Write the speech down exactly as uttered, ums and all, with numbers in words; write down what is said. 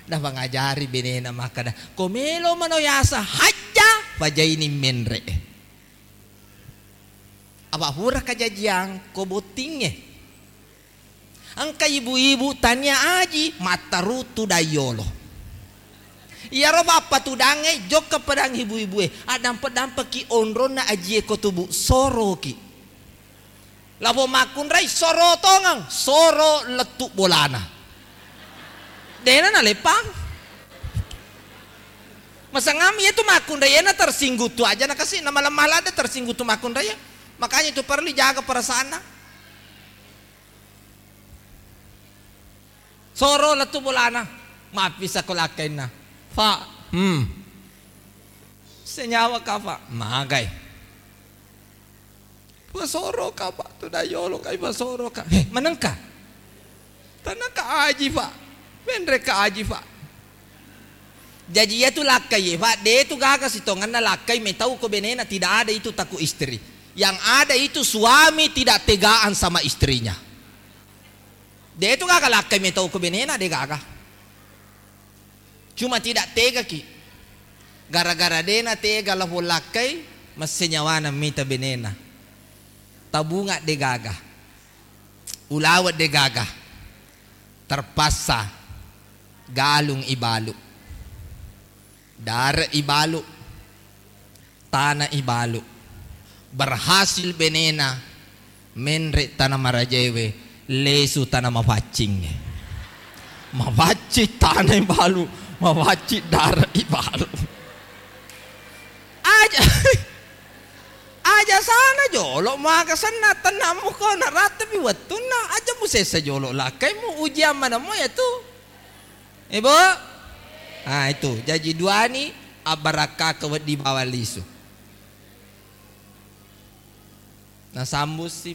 Napangajari benena makkeda, ko melo mano yasa hajja, pajaini menre. Apa pura kajajiang ko bottingnge. Engka ibu-ibu tania aji mattarutu dayolo. Iyaro pappatudangnge jokka pedang ibu-ibue, addampe-dampeki onronna ajie ko tubu, soroki. Lapo makkunrai soro tongeng, soro lettu bolana. Dena naleppang. Masangami itu makkunrai ena tersinggung tu aja nakasi, nama lemah lada tersinggung tu makkunrai. Makanya itu perlu jaga perasaanna. Soro lettu bolana, mappisa ko lakkainna. Fa, hmm. Senyawa ka, Fa? Magai. Pasoro ka, Fa, tu dayolo kai pasoro ka. He, manengka? Tanaka aji, Fa. Menre ka aji, Fa. Jaji iya tu lakkai, Fa, de tu gaga sitongenna lakkai metau ko benena, tidak ada itu takut istri. Yang ada itu suami tidak tegaan sama istrinya. De tu gaga lakkai metau ko benena, de gaga. Cuma tidak tegaki. Gara-gara dena tega lapong lakkai, masse nyawana mita benena. Tabunga de gaga. Ulawa de gaga. Terpaksa galung ibalu. Dare ibalu. Tana ibalu. Berhasil benena menre tana marajaewe, lesu tana mafaccing. Mafaccing tana ibalu, mafaccing dare ibalu. Aja, aja sana jolo maka senna tennamu ko narattepi wettunna, aja musessa jolo lakkaimu, ujian manammo ya tu. Ibu? Ah, itu. Jaji duani abbarakkaka wedding bawang lisu. Nasambussi,